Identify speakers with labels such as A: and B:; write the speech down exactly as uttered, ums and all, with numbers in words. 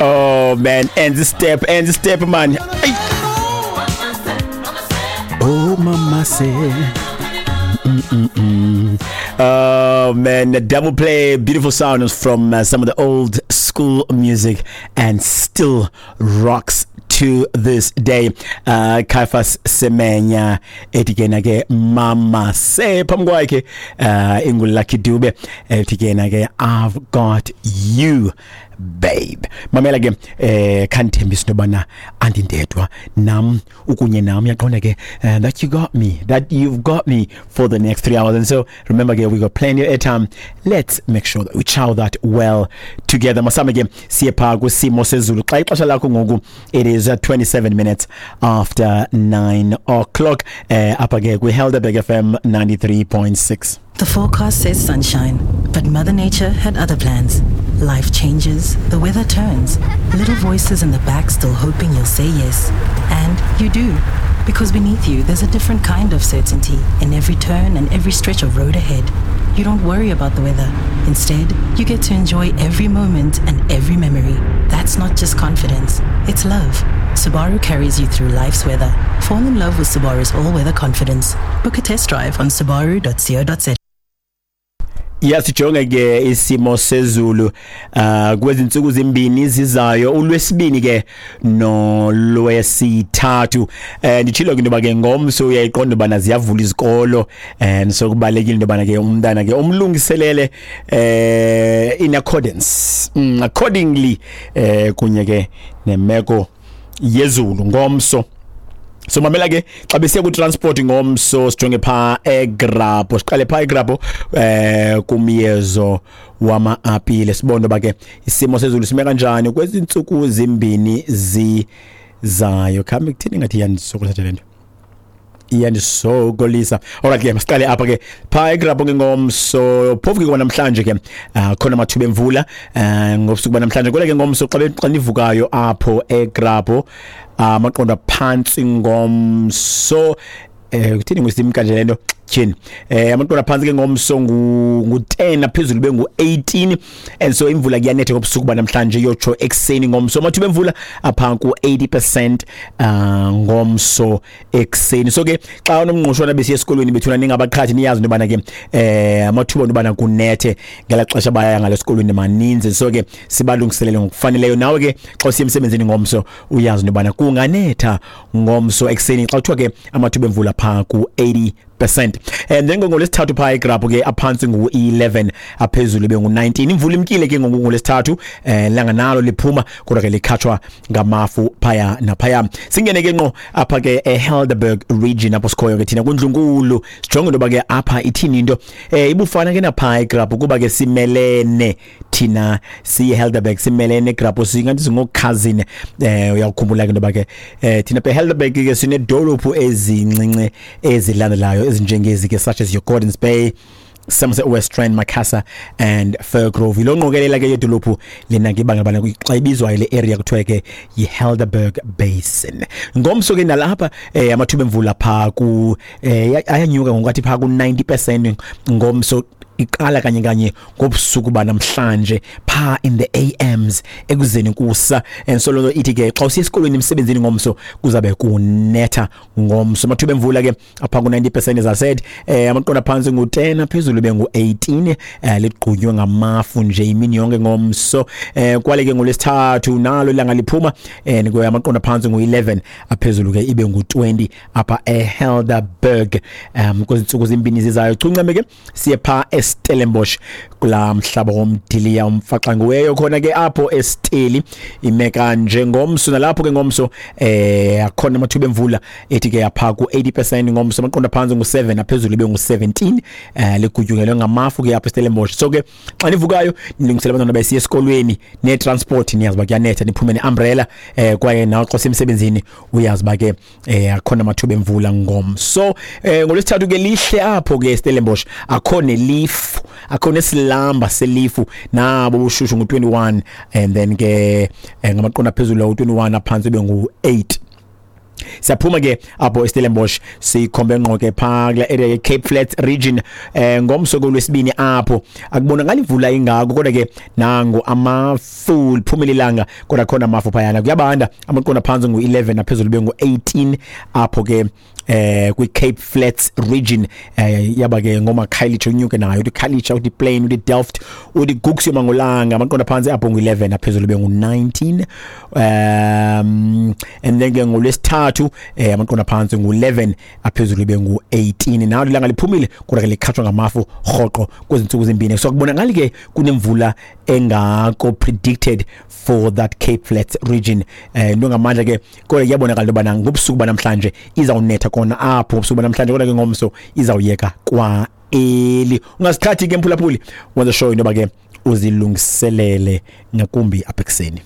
A: Oh man, and the step, and the step, man. Ay. Oh mama say. Mm-mm-mm. Oh man, the double play, beautiful sounds from uh, some of the old school music, and still rocks to this day. Uh, Caiphus Semenya ethi ke na ke "Mama Say", phambi kwakhe uh, ingu Lucky Dube ethi ke na ke "I've Got You Babe". Mamela ke, eh khandithembisa into yobana andindedwa, nam ukunye nam, uyaqonda ke, uh, that you got me, that you've got me for the next three hours. And so remember ke, we got plenty of airtime. Let's make sure that we chow that well together. Masame ke siye phaa kwisimo sezulu xa ixesha lakho ngoku it is uh, twenty-seven minutes after nine o'clock, eh apha ke kwi-Helderberg F M ninety-three point six.
B: The forecast says sunshine, but Mother Nature had other plans. Life changes, the weather turns, little voices in the back still hoping you'll say yes. And you do. Because beneath you, there's a different kind of certainty in every turn and every stretch of road ahead. You don't worry about the weather. Instead, you get to enjoy every moment and every memory. That's not just confidence, it's love. Subaru carries you through life's weather. Fall in love with Subaru's all-weather confidence. Book a test drive on subaru dot co dot za.
A: Yasijonge ke isimo sezulu uh kwezinsuku zimbini zizayo, ulwesibini ke nolwesithathu. eh nditshilo ke into yoba ke ngomso uyayiqonda ubana ziyavula izikolo, and so kubalekile into yobana ke umntana ke umlungiselele eh in accordance, mm, accordingly eh kunye ke nemeko yezulu ngomso. So mamela ke, xa besiya ku-transport ngomso, sijonge phaa eGrabho, siqale phaa eGrabho eh kumyezo wama-apile, sibone uba ke isimo sezulu sime kanjani kwezi ntsuku zimbini zizayo. Khambe kuthini, ngathi iyandisokolisa le nto, iyandisokolisa. Alright ke, masiqale apha ke phaa eGrabho ke ngomso. Phofu ke kwanamhlanje ke uh, khona amathuba emvula uh, ngobusuku banamhlanje. Kodwa ke ngomso xa xa nivukayo apho eGrabho, amaqondo aphantsi ngomso, eh kuthini ngusimka nje lento tyhini, eh amaqondo aphantsi ke ngomso ngu ngu-ten, aphezulu bengu-eighteen. And so imvula kuyanetha ngobusuku banamhlanje, yotsho ekuseni ngomso. Amathuba emvula apha ku-eighty percent uh, ngomso ekuseni. So ke xa unomngqushwana besiya esikolweni bethuna, ningabaqhathi, niyazi into yobana ke eh amathuba into yobana kunethe ngelaa xesha baya ngalo esikolweni maninzi. So ke sibalungiselele ngokufaneleyo. Nawe ke xa usiya emsebenzini ngomso, uyazi into yobana kunganetha ngomso ekuseni, xa kuthiwa ke amathuba emvula phaa ku-eighty percent. And then ngolwesithathu phaa eGrabho ke, aphantsi ngu-eleven, aphezulu bengu-nineteen. Imvula imkile ke ngoku ngolwesithathu, eh langa nalo liphuma, kodwa ke likhatshwa ngamafu phaya naphaya. Singene ke ngqo apha ke eHelderberg region, apho sikhoyo ke thina kundlunkulu, sijonge into yoba ke apha ithini into. eh ibufana ke naphaa eGrabho, kuba ke simelene thina siyiHelderberg, simelene eGrabho, singathi singokhazini. eh uyakukhumbula ke into yoba ke eh thina eHelderberg ke sinedolophu ezincinci ezilandelayo ezinjengezi ke, such as your Gordons Bay, Somerset West Rand, Macassar and Firgrove. Yilo ngqokelela ke yedolophu lena ke ibanga bana xa ibizwayo le area kuthiwa ke yi-Helderberg Basin. Ngomso ke nalapha eh amathuba emvula phaa ku eh ayanyuka ngokuthi phaa ku ninety percent ngomso, iqala kanye kanye ngobusuku banamhlanje pha in the A Ms, ekuzeni kusa. And so lo ithi ke xa usiya esikolweni, emsebenzini ngomso, kuzabe kunetha ngomso. Amathuba emvula ke apha ku ninety percent, as I said. eh amaqondo phansi ngu-ten, phezulu bengu-eighteen. eh ligqunywe ngamafu nje imini yonke ngomso. eh kwale ke ngolwesithathu nalo ilanga liphuma, eh nikwe amaqondo phansi ngu-eleven, aphezulu ke ibe ngu-twenty apha eHelderberg um kwezinsuku zimbini zizayo. Chuncame ke siye pha eStellenbosch, kula mhlaba womdiliya umfaxanguweyo khona ke apho eSteli. Ime kanje ngomso nalapho ke ngomso, eh akhona amathuba emvula ethi ke apha ku eighty percent ngomso. Amaqondo phansi ngu-seven, aphezulu ibe ngu-seventeen. eh ligutyungelwe ngamafu ke apha eStellenbosch. So ke xa nivukayo, nilungisela abantwana besiya esikolweni ne-transport, niyazi uba kuyanetha, niphume ne-umbrella. eh kwaye nawe xa usemsebenzini, uyazi uba ke eh akhona amathuba emvula ngomso. eh ngolwesithathu ke lihle apho ke eStellenbosch, akho nelifu, akho nesilamba selifu, nabo ubushushu ngu-twenty-one, and then ke eh, ngamaqondo aphezulu u-twenty-one, aphansi bengu-eight. Siyaphuma ke apho eStellenbosch, sikhombe ngqo ke phaa kula area ye Cape Flats region. eh ngomso kolwesibini apho akubonakali imvula ingako, kodwa ke nango amafu, liphumile ilanga kodwa khona amafu phayana. Kuyabanda, amaqondo phantsi ngu-eleven, aphezulu bengu-eighteen apho ke eh kwi Cape Flats region. eh yaba ke ngoma Khayelitsha, unyuke nayo uthi Khayelitsha, uthi Plain, uthi Delft, uthi Gugs yomangolanga, amaqondo phantsi apho ngu-eleven, aphezulu bengu-nineteen. um and then ke ngolwesithathu eh amaqondo phantsi ngu-eleven, aphezulu bengu-eighteen. Nawo ilanga liphumile kodwa ke likhatshwa ngamafu rhoqo kwezi ntsuku zimbini, so kubonakali ke kunemvula engako predicted for that Cape Flats region. eh into ngamandla ke, kodwa kuyabonakala into yobana ngobusuku banamhlanje izawunetha kona apho ngobusuku banamhlanje, kodwa ke ngomso izawuyeka kwa eli. Ungasithathi ke mphulaphuli, wenza sure into yoba ke uzilungiselele ngakumbi apha ekuseni.